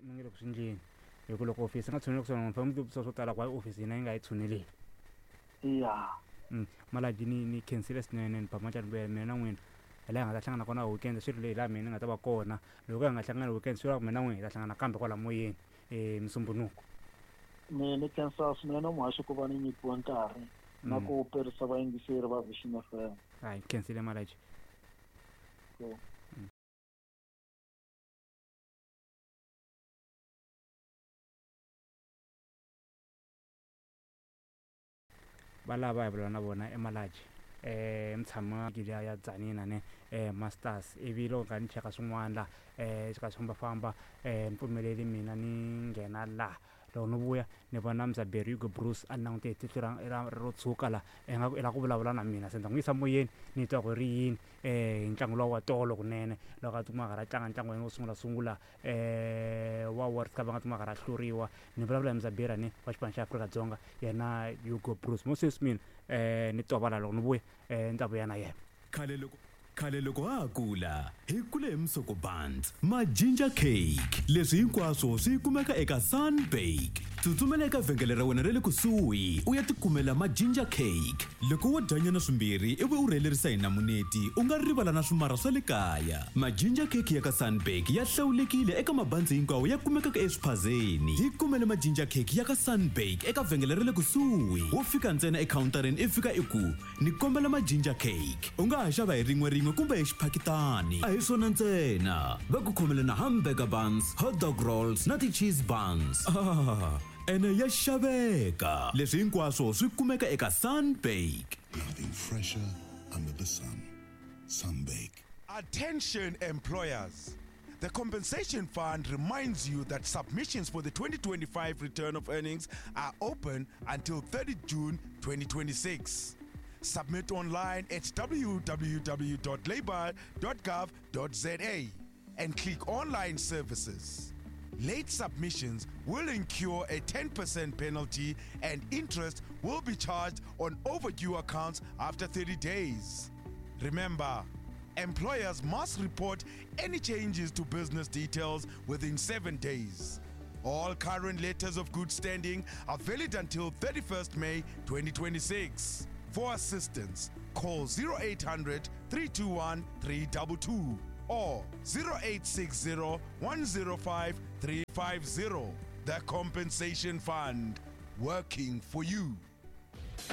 Mi nge le ku swi endleni hi ku loko ofisi yi nga tshuneli kusuhani mi fanele mi tivutisa swo tala ku why ofisi hina yi nga yi tshuneleli. Ya. Malaji ni ni khensile swinene ni ba matlani ku mina na n'wina hi laha hi nga ta hlangana kona weekend swi ri leyi laha mina ni nga ta va kona loko hi nga hlangani weekend swi vula ku mina na n'wina hi ta hlangana kambe kwala moyeni Musumbhunuku. Ni ni khensa swinene muhaxi ku va ni nyikiwe nkarhi na ku perisa vayingiseri va Vision FM. Hayi khensile Malaji. Cool. Va lava hi vulavula na vona eMalaji um mutshama liya ya Tzaneen ne Masters ivi loko ni kha ni cheka swin'wana la swi kha swi fambafamba ni pfumeleli mina ni nghena la loko ni vuya ni vona Mzaberi Hugo Broos a ni langute hi tihlo ra ro tshuka la ingaku i lava ku vulavula na mina se ni ta n'wi yisa moyeni ni twa ku ri yini hi ntlangu luwa wa tolo kunene loko a tikuma a karhi a tlanga ntlangu wa yena wo sungula sungula wa World Cup a nga tikuma a karhi a hluriwa ni vulavula hi Mzaberi ni wa xipano xa Afrika-Dzonga yena Hugo Broos mo sweswi mina ni tovala loko ni vuya ni ta vuya na yena. Khale loko Khale loko ha ha kula, hi kule hi musoko buns, ma ginger cake. Leswi hinkwaswo swi kumeka eka Sunbake. Tsutsumela eka vhengele ra wena ra le kusuhi u ya tikumela ma ginger cake. Loko wo dyanyana swimbirhi ivi u rhelerisa hi namuneti, u nga rivala na swimarha swa le kaya. Ma ginger cake ya ka Sunbake ya hlawulekile eka mabanzi hinkwawo ya kumekaka eswiphazeni. Yi kumele ma ginger cake ya ka Sunbake eka vhengele ra le kusuhi. Wo fika ntsena ekhawuntareni i fika i ku, Ni kombela ma ginger cake. U nga ha xava hi rin'we rin'we kumbe hi xiphakitani. A hi swona ntsena, va ku khomele na hamburger buns, hot dog rolls na ti-cheese buns. Ah, ene ya xaveka! Leswi hinkwaswo swi kumeka eka Sunbake. Nothing fresher under the sun. Sunbake. Attention employers. The Compensation Fund reminds you that submissions for the 2025 return of earnings are open until 30 June 2026. Submit online at www.labor.gov.za and click Online Services. Late submissions will incur a 10% penalty and interest will be charged on overdue accounts after 30 days. Remember, employers must report any changes to business details within 7 days. All current letters of good standing are valid until 31st May 2026. For assistance, call 0800 321 322 or 0860 105 350. The Compensation Fund, working for you.